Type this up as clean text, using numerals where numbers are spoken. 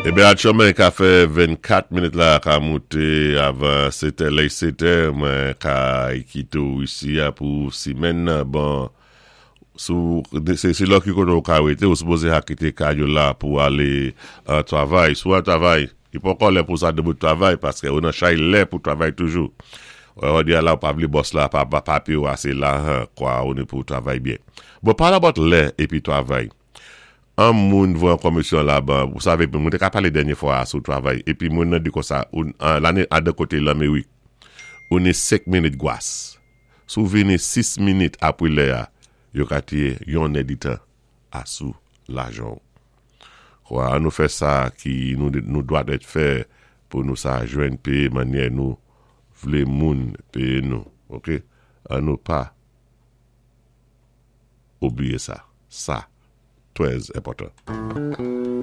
Eben aktyèlman ka fè 24 minit la ka mouté avan 7 è, lè 7 è mwen ka kité ou isi a pou simèn nan. Bon, sou se lò ki koté ou ka wété, ou sipoze ha kité kay ou la pou alé an travay. Si ou an travay, li poko lè pou sa debout travay paské ou nan chay lè pou travay toujou. Wè di a la ou pa vlé bòs la pa pa péyé ou asé lahan kwa ou ni pou travay byen. Bon, pale about lè épi travay. An moun voye an komisyon la ban, ou save, mwen te ka pale dènye fwa a sou travay, epi moun nan di konsa, ou lane adan kote Lamerik, ou ni 5 minit gwas. Si w vini 6 minit apre lè a, yo ka tiye yon èditan a sou lajan w. Kwa an nou fè sa ki nou nou dwat èt fè pou nou sa jwenn peye mannyè nou vle moun peye nou. Ok, an nou pa. Oubliye sa. Sa trè enpòtan.